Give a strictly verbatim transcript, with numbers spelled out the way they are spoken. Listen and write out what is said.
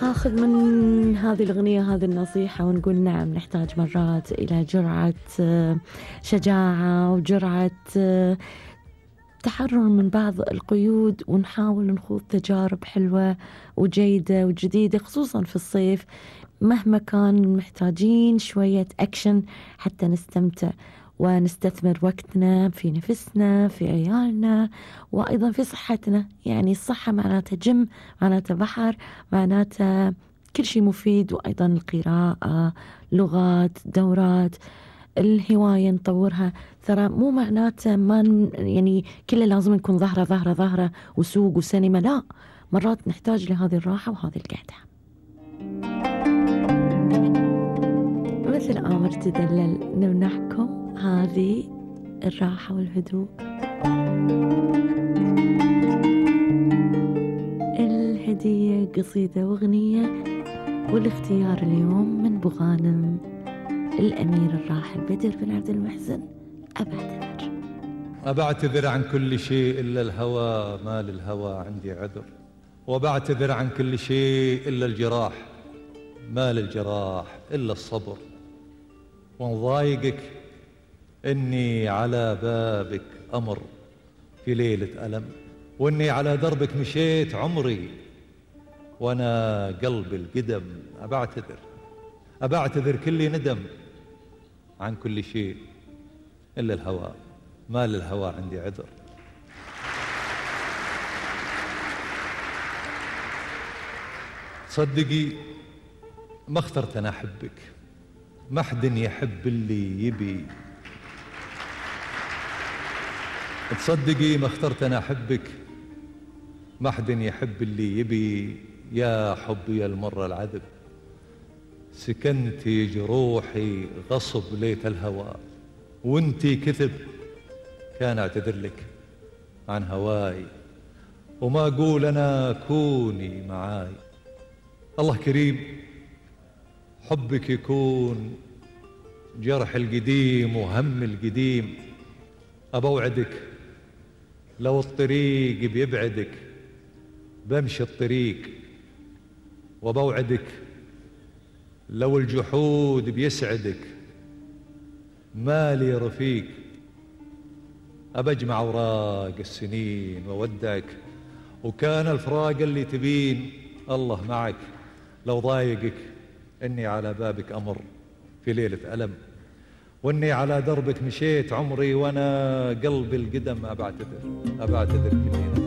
آخذ من هذه الأغنية هذه النصيحة ونقول نعم نحتاج مرات إلى جرعة شجاعة وجرعة تحرر من بعض القيود، ونحاول نخوض تجارب حلوة وجيدة وجديدة خصوصا في الصيف. مهما كان محتاجين شوية أكشن حتى نستمتع ونستثمر وقتنا في نفسنا في عيالنا وأيضا في صحتنا. يعني الصحة معناتها جيم، معناتها بحر، معناتها كل شيء مفيد. وأيضا القراءة، لغات، دورات، الهواية نطورها. ترى مو معناته ما يعني كله لازم نكون ظهرة ظهرة ظهرة وسوق وسينما، لا، مرات نحتاج لهذه الراحة وهذه القعدة. مثل آمر تدلل نمنحكم هذه الراحة والهدوء. الهدية قصيدة واغنية، والاختيار اليوم من بغانم الأمير الراحل بدر بن عبد المحسن. أبعتذر أبعتذر عن كل شيء إلا الهوى، ما للهوى عندي عذر. وبعتذر عن كل شيء إلا الجراح، ما للجراح إلا الصبر. ونضايقك إني على بابك أمر في ليلة ألم، وإني على دربك مشيت عمري وأنا قلبي القدم. أبعتذر أبعتذر كل ندم عن كل شيء إلا الهوى، ما للهوى عندي عذر. صدقي ما اخترت أنا أحبك، ما حد يحب اللي يبي. تصدقي ما اخترت أنا أحبك، ما حد يحب اللي يبي. يا حبي المرة العذب، سكنتي جروحي غصب ليت الهوى. وانتي كذب كان اعتذر لك عن هواي، وما أقول أنا كوني معاي. الله كريم، حبك يكون جرح القديم وهم القديم. أبوعدك لو الطريق بيبعدك بمشي الطريق، وبوعدك لو الجحود بيسعدك مالي رفيق. أبجمع أوراق السنين وودعك، وكان الفراق اللي تبين الله معك. لو ضايقك إني على بابك أمر في ليلة ألم، وإني على دربك مشيت عمري وأنا قلبي القدم. أبعتذر أبعتذر كلنا.